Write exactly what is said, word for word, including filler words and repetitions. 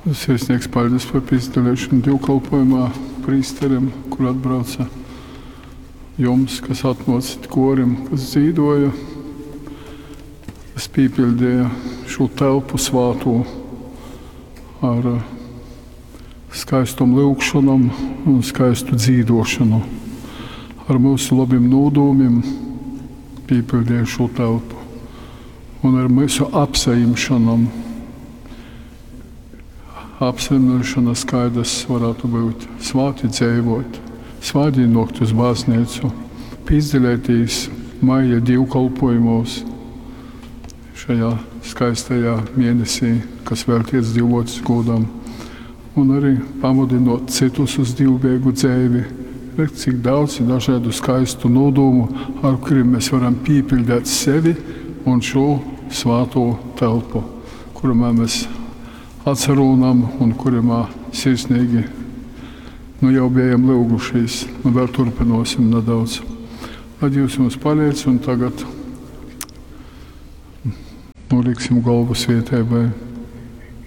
Sirsnīgs paļdis par pīsadalīšanu dīvkolpojumā prīsterim, kur atbrauca jums, kas atnōcit korim, kas dzīdoja, kas pīpildīja šo telpu svātū ar skaistom lyugšonom un skaistu dzīdošanu. Ar mūsu labim nūdūmim pīpildīja šo telpu un ar mūsu apsaimšanom. Apsaimšanas kaidas varētu būt svāti dzīvot, svāti nokt uz baznīcu, pīzdalētīs maija dievkalpojumos šajā skaistajā mēnesī, kas veltīts Dievmotes godam, un arī pamudinot citus uz dievbēgu dzēvi. Redz, cik daudz ir dažādu skaistu nodūmu, ar kuriem mēs varam pīpildēt sevi un šo svāto telpu, kurumā mēs atcerūnam un kurumā sirsnīgi nu jau bijām lūgušies, nu vēl turpinosim nedaudz. Lai Dievs mums palīdz, un tagad noliksim galvu svietēbai.